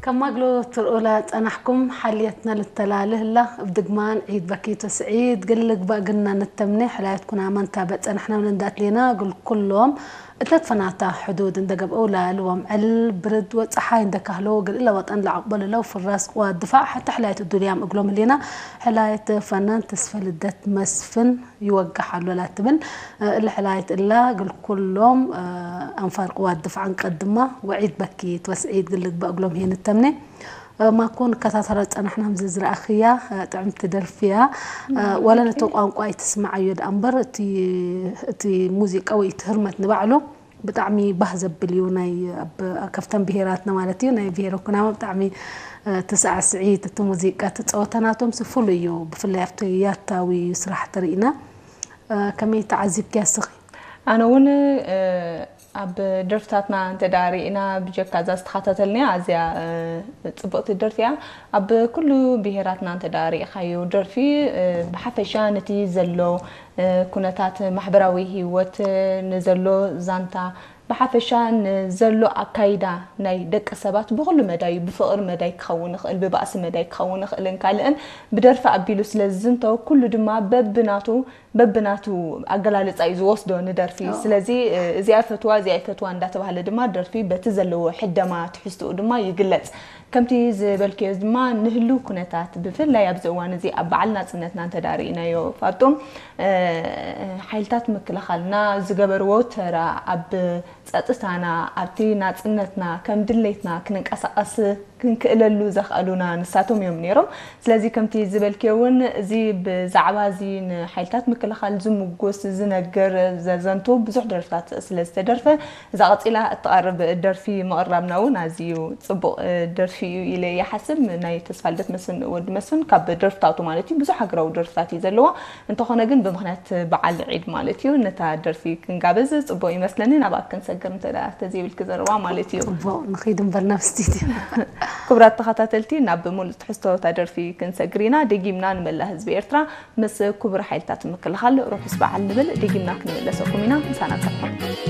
ከማግሎ ትርኡላ ጸናሕኩም ሓልየትና ልተላልህላ እብ ድግማን ዒድ በኪቶ ስዒድ ግልግባ ግና ንተምኔ ሕላየትኩና መንታ በጸናሕና ምን እንዳትሌና ግል ኩሎም እተትፈናታ ሕዱድ እንደገብአው ላልዎም ዕል ብርድ ወጸሓይ እንደካህሎ ግል እለ ወጠን ለዓቅበልለው ፍራስ ቅዋ ድፋዕ ሓታ ሕላየት ዱንያም እግሎም ህሌና ሕላየት ፈናን ተስፈ ልደት መስፍን ይወጋሕ ኣሎ ላትብል እለ ሕላየት እላ ግል ኩሎም ኣንፋር ቅዋ ድፋዕ እንቀድማ ወዒድ በኪት ወስዒድ ግልግባ እግሎም ሄን ተምኔ ማኮ ንከታተላ ጸናሕና ምዚ ዝረኣኽያ ጥዕምቲ ደርፊያ ዋላ ነቲ ቋንቋ ኣይትስምዓዮ ደኣ እምበር እቲ ሙዚቃ ወይ እቲ ህርመት ንባዕሉ ብጣዕሚ ባህ ዘብል እዩ። ናይ ኣብ ከፍተን ብሄራትና ማለት እዩ ናይ ብሄረ ኩናማ ብጣዕሚ ትሳዕስዒት እቲ ሙዚቃ እቲ ጸወታ ናቶም ሲ ፍሉይ እዩ። ብፍላይ ኣብቲ ያታዊ ስራሕ ተርኢና ከመይ ተዓዚብክያ ስኺ? ኣነ እውን ኣብ ደርፍታትና እንተ ደኣ ርኢና ብጀካ እዛ ዝተኸታተልናያ ኣዝያ ጽብቕቲ ደርፊ እያ። ኣብ ኩሉ ብሄራትና እንተ ደኣ ርኢኻዮ ደርፊ ብሓፈሻ ነቲ ዘሎ ኩነታት ማሕበራዊ ህይወት ንዘሎ ዛንታ ብሓፈሻ ንዘሎ ኣካይዳ ናይ ደቂ ሰባት ብኹሉ መዳዩ ብፍቕሪ መዳይ ክኸውን ይኽእል ብባእሲ መዳይ ክኸውን ይኽእልን ካልእን ብደርፊ ኣቢሉ ስለ ዝዝንቶ ኩሉ ድማ በብናቱ በብናቱ ኣገላልፃ እዩ ዝወስዶ ንደርፊ ስለዚ እዚኣ ይፈትዋ እዚኣ ይፈትዋ እንዳተባሃለ ድማ ደርፊ በቲ ዘለዎ ሕደማ ትሕዝትኡ ድማ ይግለፅ ከምቲ ዝበልክዮ ድማ ንህልው ኩነታት ብፍላይ ኣብዚ እዋን እዚ ኣብ በዓል ናፅነትና እንተዳርኢናዮ ፋጡም ሓይልታት ምክልኻልና ዝገበርዎ ተራ ኣብ ፀጥታና ኣብቲ ናፅነትና ከም ድሌትና ክንንቀሳቐስ ክንክእለሉ ዘኽኣሉና ንሳቶም እዮም ነይሮም። ስለዚ ከምቲ ዝበልክዮ እውን እዚ ብዛዕባ እዚ ንሓይልታት ምክልኻል ዝምጉስ ዝነግር ዘዘንቱ ብዙሕ ደርፍታት ስለ ዝተደርፈ እዛ ቀፂላ እትቐርብ ደርፊ ምቕራብና እውን ኣዝዩ ፅቡቕ ደርፊ እዩ ኢለ ይሓስብ። ናይ ተስፋልደት መስፍን ወዲ መስፍን ካብ ደርፍታቱ ማለት እዩ ብዙሕ ሃገራዊ ደርፍታት እዩ ዘለዋ። እንተኾነ ግን ብምኽንያት በዓል ዒድ ማለት እዩ ነታ ደርፊ ክንጋብዝ ፅቡቕ ይመስለኒ ናብኣ ክንሰግር እንተ ተዘይብልኪ ዘረባ ማለት እዩ። ፅቡቕ ንኺድ እምበር ናብ ስቱድዮ። ክቡራት ተኸታተልቲ ናብ ሙሉእ ትሕዝቶ እታ ደርፊ ክንሰግር ኢና። ደጊምና ንመላእ ህዝቢ ኤርትራ ምስ ክቡር ሓይልታት ምክልኻል ርሑስ በዓል ንብል። ደጊምና ክንምለሰኩም ኢና። ምሳና ጸንሑ።